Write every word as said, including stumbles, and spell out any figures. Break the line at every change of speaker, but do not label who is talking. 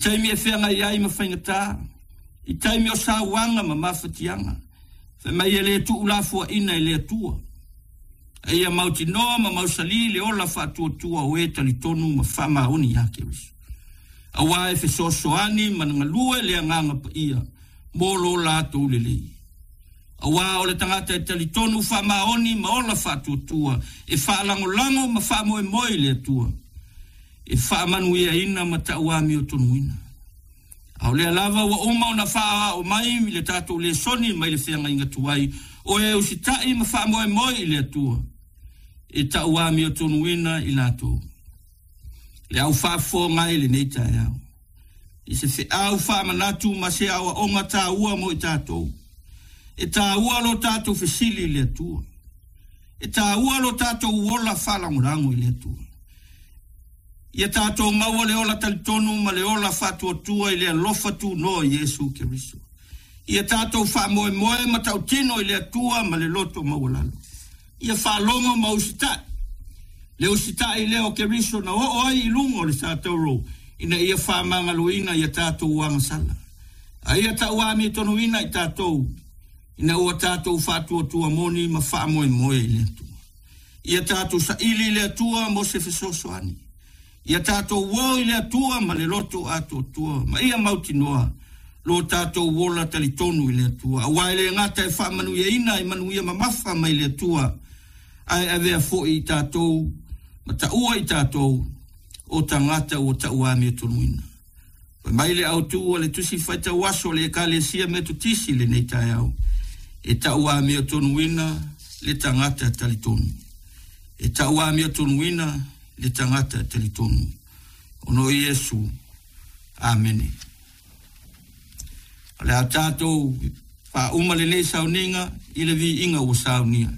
Taimi e feagai ai ma faigata, i taimi o sauaga ma mafatiaga, fai mai e le tuulafoaina e le Atua. A ia mautinoa ma mausali le ola faatuatua o e talitonu ma faamaoni ia Keriso. Auā e fesoasoani ma galue le agaga paia mo lo latou lelei. Auā o le tagata e talitonu faamaoni ma ola faatuatua e faalagolago ma faamoemoe i le Atua. E faamanuiaina ma tauamiotonuina. A o lea lava ua uma ona faaao mai i le tatou lesoni mai le feagaiga tuai, o e usitai ma faamoemoe i le Atua, e tauamiotonuina i latou. Le au faafofoga i lenei taeao. I se feau faamanatu ma se aoaoga taua mo i tatou. E taua lo tatou fesili i le Atua. E taua lo tatou ola faalagolago i le Atua. Ia tatou maua le ola talitonu ma le ola faatuatua i le alofa tunoa o Iesu Keriso. Ia tatou faamoemoe ma tautino i le Atua ma le loto maualalo. Ia faalogo ma usitai. Le usitai lea o Keriso na oo ai i luga o le satauro ina ia faamagaloina ia tatou agasala. A ia tauamiotonuina i tatou ina ua tatou faatuatua moni ma faamoemoe i le Atua. Ia tatou saili i le Atua mo se fesoasoani. Ia tatou o i le Atua ma le loto atoatua ma ia mautinoa lo tatou ola talitonu i le Atua. Auā e le gata e faamanuiaina i manuia mamafa mai le Atua, ae avea foi i tatou ma taua i tatou o tagata ua tauamiotonuina. Fai mai le autu o le tusi faitau aso le Ekalesia Metotisi lenei taeao, e tauamiotonuina le tagata talitonu. E tauamiotonuina le tagata talitonu. Ona o Iesu. Amene. O le a tatou faauma lenei sauniga i le viiga ua saunia.